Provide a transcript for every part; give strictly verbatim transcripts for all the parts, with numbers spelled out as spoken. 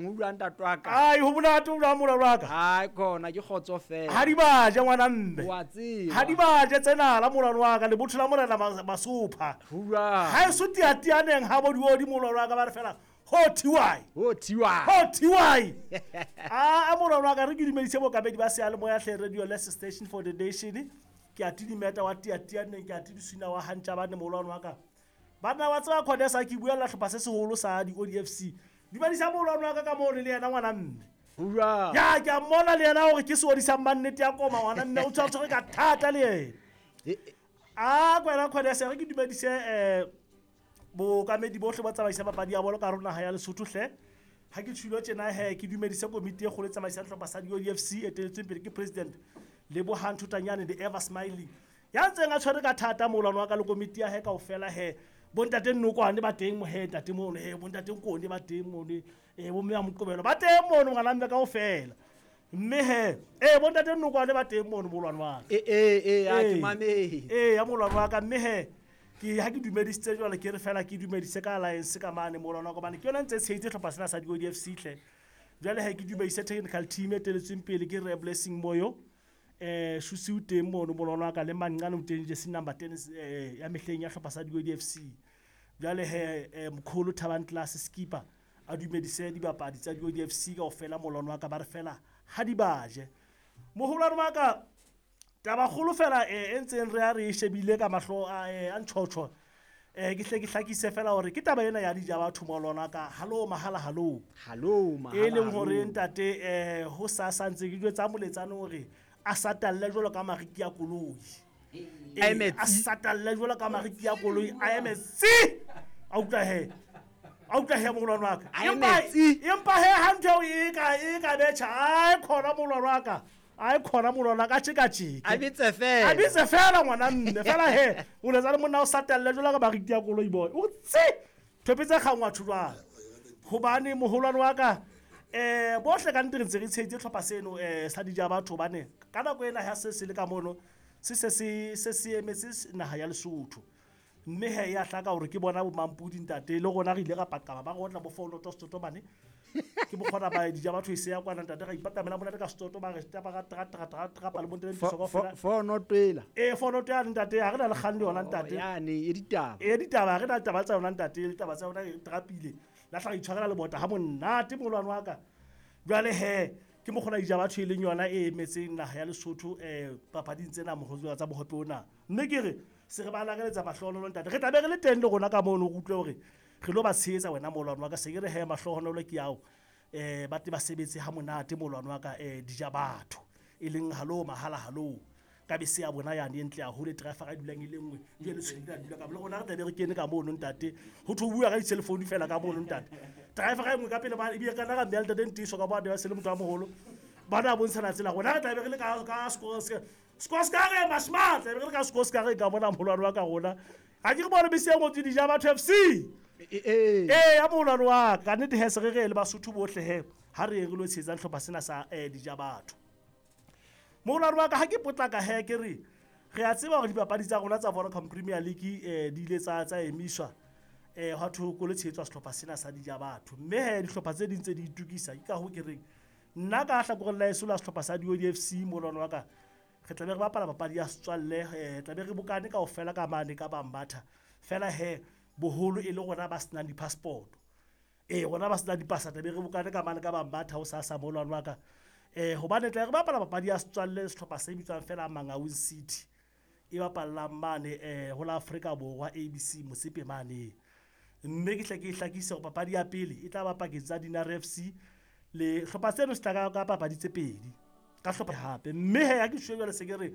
O bua ntate wa ka. Ai, ho monate o jwang molwano wa ka? Hai khona ke kgotso fela. Ha di baje ngwana mme. Wa tseba. Ha di baje tsena la molwano wa ka lebotho la morena Masopha. Ho jwang? Ha e so tiatianeng ha bo diodi molwano wa ka ba re fela ho thiwai. Ho thiwai. Ho thiwai. A a molwano wa ka re ke dumedise bokabedi ba seyalemoya hle radio less station for the nation. Ke a tidimeta wa tiatianeng ke a tidisina wa hantja bane molwano wa ka. Banna wa tseba khonesa ke buella hlopha se seholo sa di O D F C. Dumedisa molwano wa ka ka moo le yena ngwana mme. Ho jwang? Ya ke a mmona le yena hore ke seodi sa mannete ya koma ngwana mme o tshwantse ka thata le yena. A kwena khonesa re ke dumedise eh bokamedi bohle ba tsamaisa papadi ya bolo ka rona ha ya Lesotho hle. Ha ke tshwilo tjena he ke dumedise komiti e kgolo e tsamaisang hlopha sa di O D F C e eteletsweng pele ke president Lebohang Thutanyane the ever smiling. Ya ntseng a tshwere ka thata molwano wa ka le komiti ya he kaofela he. Bontate Nnokwane ba teng mo he ntate mono he bontate Nkone ba teng mono eh bo mme ya Moqobelo ba teng mono ngwana mme kaofela. Mme he eh bontate Nnokwane ba teng mono molwano wa ka. Eh eh eh a ke mametse. Eh ya molwano wa ka mme he ke ha ke dumedisitse jwale ke re fela ke dumedise ka alliance ka mane molwano wa ka bane ke yona ntse tshehetse hlopha sena sa di O D F C hle. Jwale he ke dumedise technical team e teletsweng pele ke Re Blessing Moyo. Eh Shusi o teng mono molwano wa ka le Manqane o teng jersey number ten eh ya mehleng ya hlopha sa di O D F C. Jwale he mkholo Thabang Class skipper a dumedise dibapadi tsa di O D F C kaofela molwano wa ka ba re fela ha di baje. Moholwane wa ka taba kgolo fela e ntseng re a re shebile ka mahlo a a ntshotshwa eh ke hle ke hlakise fela hore ke taba ena ya dija batho molwano wa ka hallo mahala hallo. Hallo mahala. E leng hore ntate eh ho sa santse ke jwetsa moletsane hore a satalle jwalo ka mariki ya koloi. A satalle jwalo ka mariki ya koloi a eme tsi. A utlwa he. A utlwa he molwano wa ka. A eme tsi. Empa he ha ntho e ka e ka betjha ai khona molwano wa ka. Ai khona molwano wa ka tjeka tjeka. A bitse fela. A bitse fela ngwana mme fela he. O letsa le monna o satalle jwalo ka mariki ya koloi boy. O tsi. Thopetse kgangwa thulwana. Hobane moholwane wa ka eh bohle ka nnete re ntse re tshehetse hlopha seno eh sa dija batho bane ka nako ena ha se se le ka mono se se se se se emetse naha ya Lesotho mme he ya hlaka hore ke bona bo Mampudi ntate le rona re ile ra paqama ba rotla bo fono to setoto bane ke bokgona ba dija batho e se ya kwana ntate ra ipatamela monate ka setoto ba re tapa ra tra tra tra tra pa le bontle ntho kaofela fono twela eh fono twela ntate ha re na le kgang le yona ntate yane e ditaba e ditaba re na le taba tsa yona ntate le taba tsa yona e trapile la hla itshwarela le bota ha monate molwano wa ka jwale he ke mokgona dija batho e leng yona e emetseng naha ya Lesotho eh papading tsena mohotswa tsa bohope ona mme ke re se re ba lakeletsa mahlohonolo ntate re tla be re le teng le rona ka mono re utlwe hore re lo ba tshehetsa wena molwano wa ka se ke re he mahlohonolo ke ao eh ba te ba sebetse ha monate molwano wa ka eh dija batho e leng hallo mahala hallo ka bese ya bona yane e ntle haholo e driver a dulang e le nngwe jwale le tshwele dula ka le rona re tla be re kene ka mono ntate ho tho bua ka di-cellphone fela ka mono ntate driver e nngwe ka pele ba ebile kana ka mme ntate Ntiso ka bona ba se le motho a moholo ba na bontshana tsela rona re tla be re le ka ka sekolo se ka re masmart re le ka sekolo se ka re ka bona molwano wa ka rona ha ke re bone bese e ngotswe dija batho F C eh eh ya molwano wa ka nnete he se re re le Basotho bohle he ha re re lo tshetsa hlopha sena sa dija batho. Molwano wa ka ha ke potlaka he ke re re a tseba hore dipapadi tsa rona tsa Vodacom Premier League eh di ile tsa tsa emiswa eh hwa thoko ko le tshehetswa sehlopha sena sa dija batho mme he dihlopha tse ding tse di itukisa ke ka ho ke reng nna ka hlakoreng la eso la sehlopha sa di O D F C molwano wa ka re tla be re bapala papadi ya setswalle eh tla be re bokane kaofela ka mane ka Bambatha fela he boholo e le rona ba senang di-passport eh rona ba senang dipasa tla be re bokane ka mane ka Bambatha ho sa sa molwano wa ka eh hobane tla re bapala papadi ya setswalle sehlopha se bitswang fela Mangaung City e bapallang mane eh ho la Afrika Borwa A B C Motsepe mane mme ke hle ke hlakise hore papadi ya pele e tla ba pakeng tsa Dinare F C le hlopha seno se tla ka papadi tse pedi ka hlopha hape mme he ya ke tjho jwale se ke re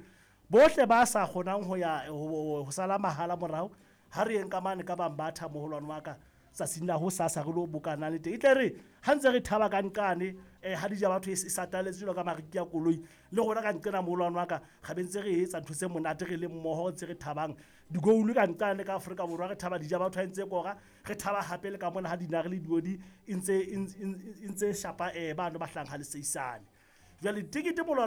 bohle ba sa kgonang ho ya ho sala mahala morao ha re yeng ka mane ka Bambatha moholwane wa ka tsatsing la ho sasa re lo bokana le teng e tle re ha ntse re thaba ka nkane eh ha dija batho e sataletse jwalo ka mariki ya koloi le rona ka nqena moholwane wa ka ga be ntse re etsa ntho tse monate re le mmoho ntse re thabang digoulu ka nkane ka Afrika Borwa re thaba dija batho ha ntse kora re thaba hape le ka mona ha dinare le diodi e ntse e ntse shapa eh bano ba hlang ha le seisane jwale tikete molwano